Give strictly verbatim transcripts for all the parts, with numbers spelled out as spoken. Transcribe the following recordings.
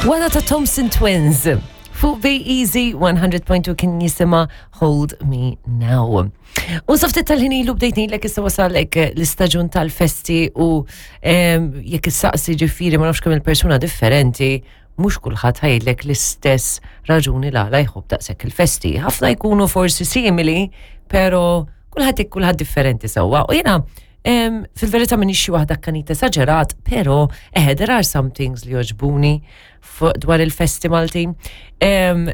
Wara ta' Thompson Twins. Fuq Be Easy one hundred point two kien jisimha Hold Me Now. U sa ftit tal-ħin ilu bdejt ngħidlek issa wasalek l-istaġun tal-festi u em, jekk issaqsi ġifieri ma nafx kemm il-persuna differenti, mhux kulħadd ħa jgħidlek l-istess raġuni l-għala jħobb daqshekk il-festi. Ħafna jkunu forsi simili, pero kulħadd kulħadd differenti sewwa. U jiena em, fil-verità minn xi waħda kanita esaġerat, pero eh, there are some things li joġbuni fuq dwar il-festi Maltin. Em,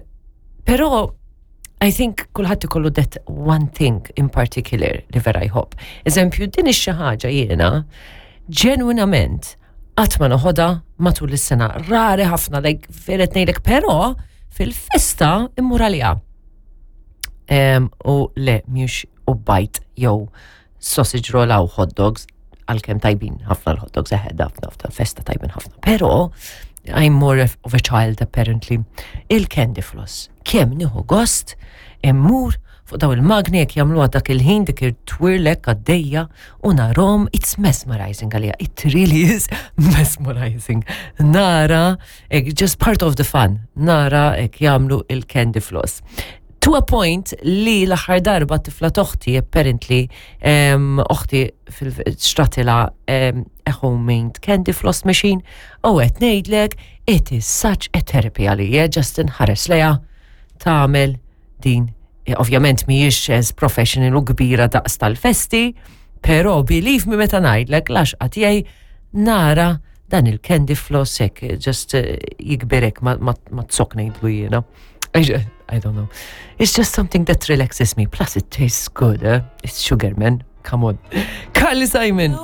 pero I think kulħadd ikollu that one thing in particular li vera jħobb. Eżempju, din ix-xi ħaġa jiena ġenwinament qatt ma noħodha matul is-sena. Rari ħafna, like vera ngħidlek, però fil-festa immur għaliha. Em, u le, mhux u bajd jew sausage roll u hot dogs, għalkemm tajbin ħafna l-hot dogs, eħe, ħafna ħafna festa tajbin ħafna. Pero, I'm more of a child apparently. Il-candy floss. Kemm nieħu gost immur fuq daw il-magni jekk jagħmluha dak il-ħin, dik it-twirlek għaddejja u narahom, it's mesmerizing għalija. It really is mesmerizing. Nara, ek, just part of the fun. Nara ek jagħmlu il-candy floss. To a point li l-aħħar darba tifla t'oħti, apparently, um, oħti fil-xtratilha um, a homemade candy floss machine, u qed ngħidlek, it is such a therapy għalija, just nħares lejha tagħmel din. Eh, Ovvjament mhijiex as professional u kbira daqs tal-festi, pero believe me meta ngħidlek l-għaxqa tiegħi nara dan il-candy floss hekk, just uh, jikberek ma, ma, ma tsok ngħidlu jiena. I, ju- I don't know. It's just something that relaxes me. Plus it tastes good, eh? It's sugar, man. Come on. Carly Simon.